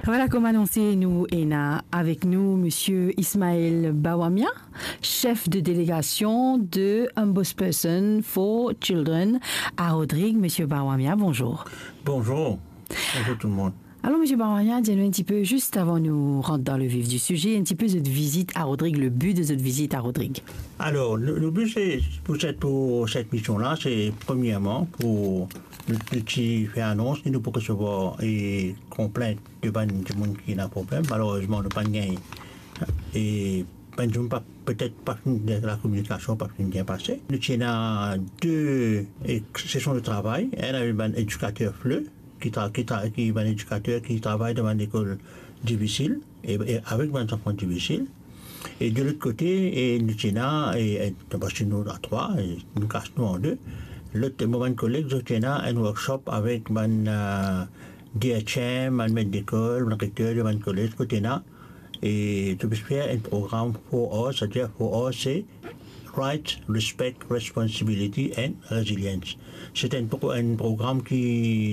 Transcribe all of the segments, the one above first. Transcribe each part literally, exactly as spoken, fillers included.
Vwala, kouma anonse, nou ena avek nou Misie Ismaël Bawamia, chef de delegasion de Ombudsperson for Children à Rodrigues. Misie Bawamia, bonzour. Bonzour. Bonzour tout le monde. Alor, Misie Bawamia, dir nou enn tipe, zis avan nou rant dan le vif di size, enn tipe zot vizit à Rodrigues, le bi de zot vizit à Rodrigues. Alor, nou, nou bi, se pou set, pou set mision la, se premierman pou nou, nou ti fer anons ki nou pou resevwar, e, konplint de bann dimoun ki ena problem. Malerezman, nou pa'nn gagn, e, bann dimoun pa, petet pa finn, lakominikasion pa finn bien pase. Nou ti ena de, e, sesion de travay, enn avek bann edikater FLE, ki tra-, ki tra-, ki bann edikater ki travay dan bann lekol difisil, e, e avek bann zanfan difisil. E de lot kote, e nou ti ena, e, e, parski nou a trwa, e nou kas nou an de. Lot, mo bann koleg, zot ti ena enn workshop avek bann, eh, D H M, bann met lekol, bann rekter de bann kolez, kot ena, e zot pe fer enn program four R, savedir four R se Right, Respect, Responsibility and Resilience. Se enn pro-, enn program ki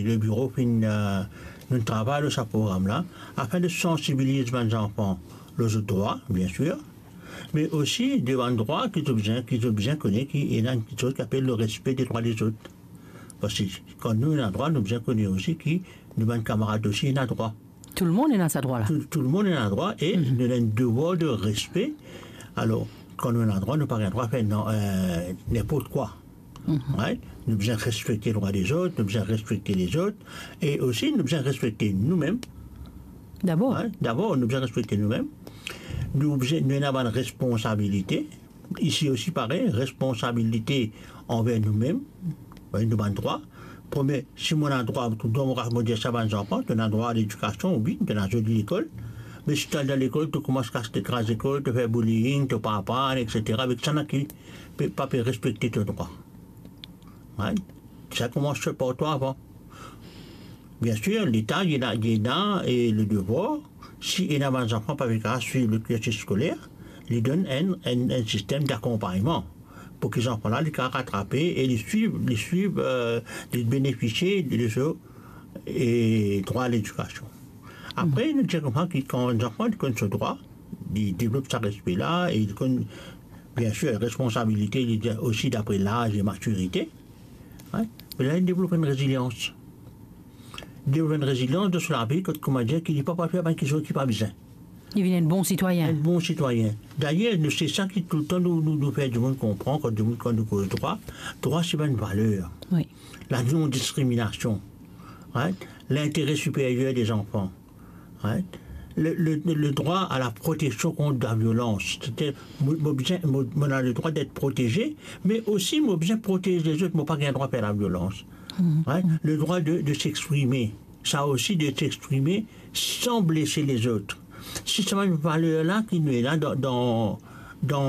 le biro finn, eh, nou travay lor sa program la, afin de sansibiliz bann zanfan lor zot drwa, bien sir, me osi de bann drwa ki zot bizin, ki zot bizin kone ki ena enn kiksoz ki apel le respe de drwa lezot. Parski kan nou ena drwa, nou bizin kone osi ki nou bann kamarad osi ena drwa. Tou lemonn ena sa drwa la. Tou, tou lemonn ena drwa e nou ena enn devwar de respe. Alor, kan nou ena drwa, nou pa gagn drwa fer nan, eh, ninport kwa. Right? Nou bizin respekte drwa lezot, nou bizin respekte lezot, e osi nou bizin respekte noumem. Dabor. Right? Dabor, nou bizin respekte noumem. Nou bizin, nou ena bann responsabilite. Isi osi parey, responsabilite anver noumem, wi, nou bann drwa. Premie, si mo ena drwa, tou dan mo, mo dir sa bann zanfan, to ena drwa a ledikasion, wi, to ena zoli lekol. Me si to al dan lekol, to koumans kas, to kraz lekol, to fer bullying, to pa aprann, et cetera, avek sa, ena ki pe, pa pe respekte to drwa. Right? Sa koumans par twa avan. Bien sir, Leta, li ena, li ena, e, le devwar, si ena bann zanfan pa pe kapav swiv le kirsis skoler, li donn enn, enn, enn sistem dakonpagnman pou ki zanfan la, li kapav ratrape e li swiv, li swiv, eh, li benefisie de so, e, drwa a ledikasion. Apre, nou dir koumsa ki kan zanfan li konn so drwa, li devlop sa respe la, e li konn, bien sir, responsabilite, li dir osi dapre laz e matirite, wi, me la, li devlop enn rezilians. Li devlop enn rezilians dan so lavi, kot, kouma dir, ki li pa, pa fer bann kiksoz ki pa bizin. Li vinn enn bon sitwayin. Enn bon sitwayin. Dayer, nou, se sa ki toultan nou, nou, nou fer dimoun konpran, kan dimoun, kan nou koz drwa, drwa se bann valer. Wi. La non-discrimination, right? L'intérêt supérieur des enfants, right? Le, le, le droit à la protection contre la violence. Setadir, mo, mo bizin, mo, mo ena le drwa d'être protégé, me osi mo bizin protez lezot, mo pa gagn drwa fer laviolans. Right? Le droit de, de s'exprimer. Sa osi, de s'exprimer sans blesser les autres. Si sa bann valer la ki nou ena dan, dan, dan